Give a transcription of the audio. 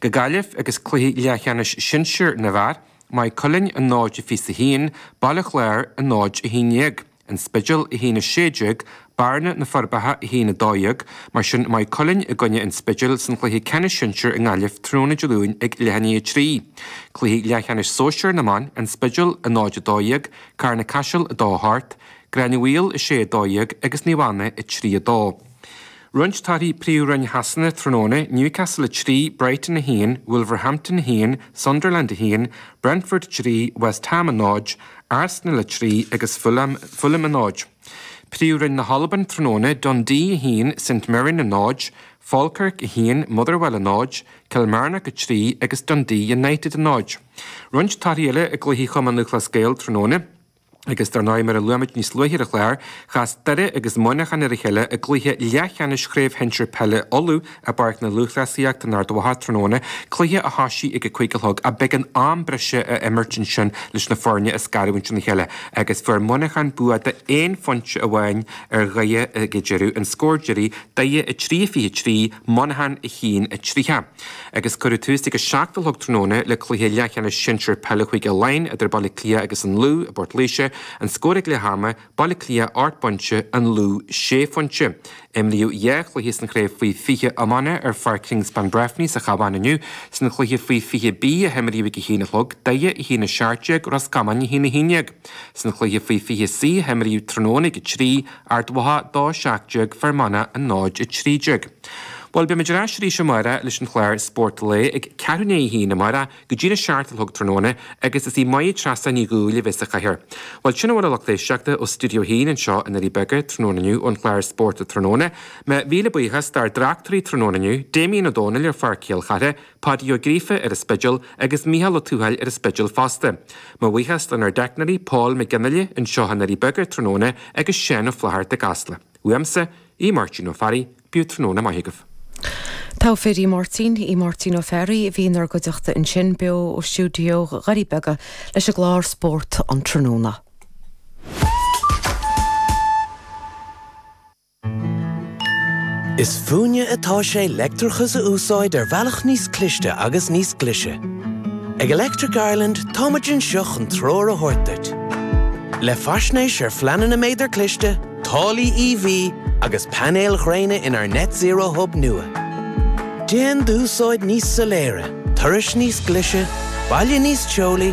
Go Gaillimh agus cluiche leathcheannais sinsir na bhfear, Maigh Cuilinn 0-21, Baile Chláir 0-11. An Spidéal 1, 16, Bearna, Na Forbacha 1, 12, mar sin Maigh Cuilinn i gcoinne an Spidéil san chluiche ceannais sinsir i nGaillimh tráthnóna Dé Luain ag leath i ndiaidh a 3. Cluiche leathcheannais sóisear na mban, An Spidéal 0, 12, Carna Caiseal 2, 8, Gráinne Mhaol 6, 12 agus Naomh Anna 3, 2. Roinnt torthaí Príomh-Roinn Shasana tráthnóna, Newcastle 3, Brighton 1, Wolverhampton 1, Sunderland 1, Brentford 3, West Ham 0, Arsenal 3 agus Fulham 0. Príomh-Roinn na hAlban tráthnóna, Dundee 1, St Mirren 0, Falkirk 1, Motherwell 0, Kilmarnock 3 agus Dundee United 0. Roinnt torthaí eile i gcluichí Chumann Lúthchleas Gael tráthnóna. Agus dar ndóigh, mar a luaigh muid níos luaithe ar an chlár, chas Doire agus Muineachán ar a chéile i gcluiche leathcheannais Chraobh Shinsir Peile Uladh i bPáirc na Lúthchleasaíochta in Ard Mhacha tráthnóna, cluiche a thoisigh ag a 5 a chlog ach b'éigean am breise a imirt ansin leis na foirne a scarúint óna chéile agus fuair Muineachán bua d'aon phointe amháin ar Dhoire ag an deireadh, an scór deiridh, Doire 3-23, Muineachán 1-30. Agus cuireadh tús ag a 7 a chlog tráthnóna le cluiche leathcheannais sinsir peile Chúige Laighean idir Baile Átha Cliath agus an Lú i bPort Laoise, an scór ag leath ama, Baile Átha Cliath 8 bpointe, an Lú 6 phointe. Imríodh 2 chluiche san chraobh faoi 20 iomána ar Pháirc Kingspan Breffni sa Chabhán inniu. San chluiche faoi 20 B a himríodh ag a haon a chlog, Doire 1 17, Ros Comáin 1 11. San chluiche faoi 20 C a himríodh tráthnóna ag a 3, Ard Mhacha 2 17, Fear Manach 0 13. Bhuel, beimid ar ais arís amárach leis an chlár Spórt an Lae ag ceathrú i ndiaidh a haon amárach go dtí'n 7 a chlog tráthnóna agus is í Máire Treasa Ní Dhubhghaill a bheas sa chathaoir. Bhuel, sin a bhfuil a lucht éisteachta ó Stiúideo 1 anseo i nDoirí Beaga tráthnóna inniu ón chlár Spórt Tráthnóna. Mo mhíle buíochas dár dtráchtairí tráthnóna inniu, Damien Ó Dónaill ar Pháirc Chill Chartha, Páidí Ó Gríofa ar an Spidéal agus Mícheál Ó Tuathail ar an Spidéal fosta. Mo bhuíochas lenár dteicneoirí Paul McGinley anseo i nDoirí Beaga tráthnóna agus Seán Ó Flatharta i gCasla. Uaimse, Aodh Máirtín Ó Fearraigh, bíodh tráthnóna maith agaibh. Togha fir í Máirtín, Aodh Máirtín Ó Fearraigh a bhí inár gcuideachta ansin, beo ó stiúideo Dhoirí Beaga leis an gclár Spórt an Tráthnóna. Is fúinne atá sé leictreachas a úsáid ar bhealach níos cliste agus níos glaise. Ag Electric Ireland táimid anseo chun treoir a thabhairt duit. Le faisnéis ar phleananna méadar cliste, táillí EV agus painéil ghréine inár Net Zero Hub nua. Déan d'úsáid níos soiléire, turais níos glaise, baile níos teolaí.